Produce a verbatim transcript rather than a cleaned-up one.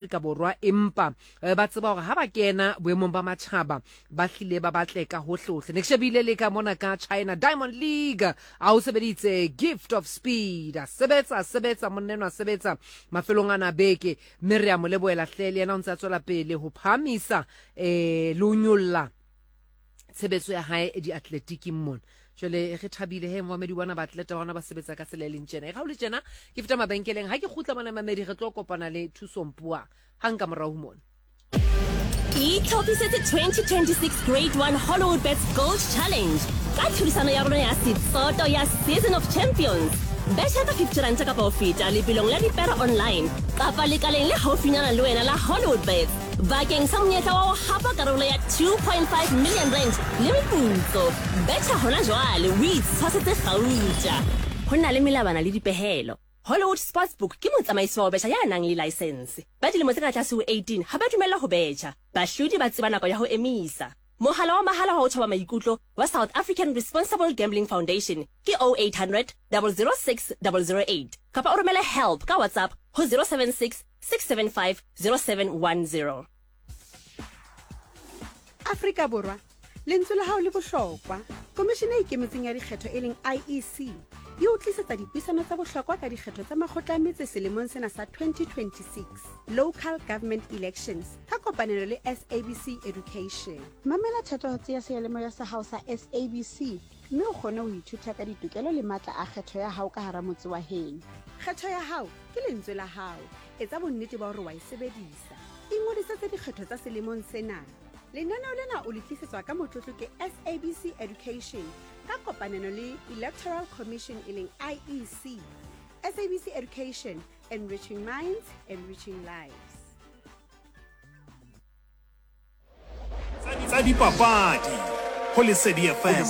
Afrika Borwa, empa eh, ba tseba hore ha ba kena boemong ba matjhaba ba hlile ba batle ka hohlehohle. Ne ke shebile le ka mona ka China Diamond League, a o sebeditse Gift of Speed, a sebetsa a sebetsa monna enwa, a sebetsa mafelong ana a beke, mme re a mo lebohela hle. Le yena o ntse a tswela pele ho phahamisa eh le ho nyolla tshebetso ya hae diatletiking mona. Jwale re thabile he momamedi bona baatleta bona ba sebetsa ka tsela e leng tjena. E ga o le tjena ke feta mabenkeleng, ha ke kgutla mona mamedi re tlo kopana le Thuso Mpua hang ka morao ho mona. Itlhophisetse twenty twenty-six Grade one Hollywoodbets Gold Challenge ka tlhodisano ya rona ya setsoto ya Season of Champions. Betjha ka fifty ranta kapa ho feta lebelong la dipere online kapa lekaleng le haufinyana le wena la Hollywoodbets bakeng sa monyetla wa ho hapa karolo ya two point five million rand le meputso. Betjha hona jwale o itshwasetse kgauta. Ho na le melawana le dipehelo. Hollywood Sportsbook ke motsamaisi wa ho betjha ya nang le license. Ba dilemo tse ka tlase ho eighteen ha ba dumellwa ho betjha. Bahlodi ba tseba nako ya ho emisa. Mohala wa mahala wa ho thoba maikutlo wa South African Responsible Gambling Foundation ke oh eight hundred zero zero six zero zero eight kapa o romele help ka WhatsApp ho zero seven six six seven five zero seven one zero. Afrika Borwa, lentswe la hao le bohlokwa. Komishene e Ikemetseng ya Dikgetho e leng I E C e o tlisetsa dipuisano tsa bohlokwa ka dikgetho tsa makgotla a metse selemong sena sa twenty twenty-six, Local Government Elections, ka kopanelo le S A B C Education. Mamela thatohatsi ya seyalemoya sa hao sa S A B C mme o kgone ho ithuta ka ditokelo le matla a kgetho ya hao ka hara motse wa heno. Kgetho ya hao ke lentswe la hao, etsa bonnete ba hore wa e sebedisa. Ingodisetse dikgetho tsa selemong sena. Lenaneo lena o le tlisetswa ka motlotlo ke S A B C Education ka kopanelo le Electoral Commission e leng I E C. S A B C Education, enriching minds, enriching lives. Tsa dipapadi ho Lesedi F M.